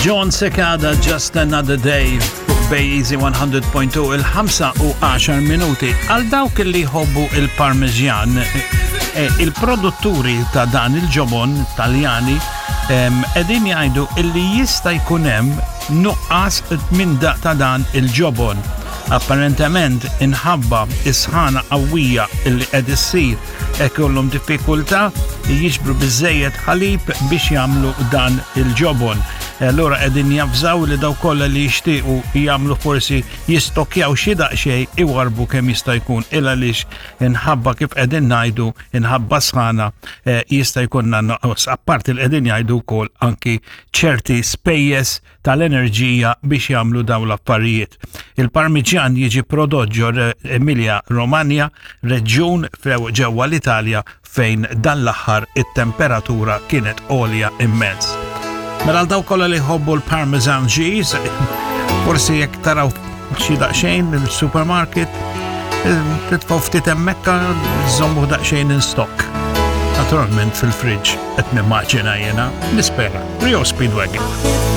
John Secada, Just Another Day, fuq Bay Easy 100.2 il-5 u 10 minuti. Għal dawk li jħobbu il-Parmigian, eh, il-produtturi ta' dan il-ġobon taljani qegħdin jgħidu illi jista' jkun hemm nuqqas minn ta' dan il-ġobon. Apparentement inħabba is-sħana qawwija illi qed issir ikollhom diffikultà li jiġbru biżejjed ħalib biex jagħmlu dan il-ġobon. Allura qegħdin javżaw li daw kollha li jixtiequ jagħmlu forsi jistokjaw xi daqsxejn iwarbu kemm jista' jkun il għaliex inħabba kif qegħdin ngħidu inħabba sħana eh, jista' jkunna nuqqas. Apparti li qegħdin jgħidu wkoll anki ċerti spejjeż tal-enerġija biex jagħmlu dawn l-affarijiet. Il-Parmiġjan jiġi prodott ġo Emilia Romagna, reġjun ġewwa l-Italja fejn dan l-aħħar it-temperatura kienet għolja immens. Mela għal dawk kollha li jħobbu l-Parmesan cheese, forsi jekk taraw xi daqsxejn il-supermarket, titfgħu ftit hemmhekk żommu daqsxejn in stock. Naturalment fil-fridge qed nimmaġina jiena, nispera. Rio Speedwagon.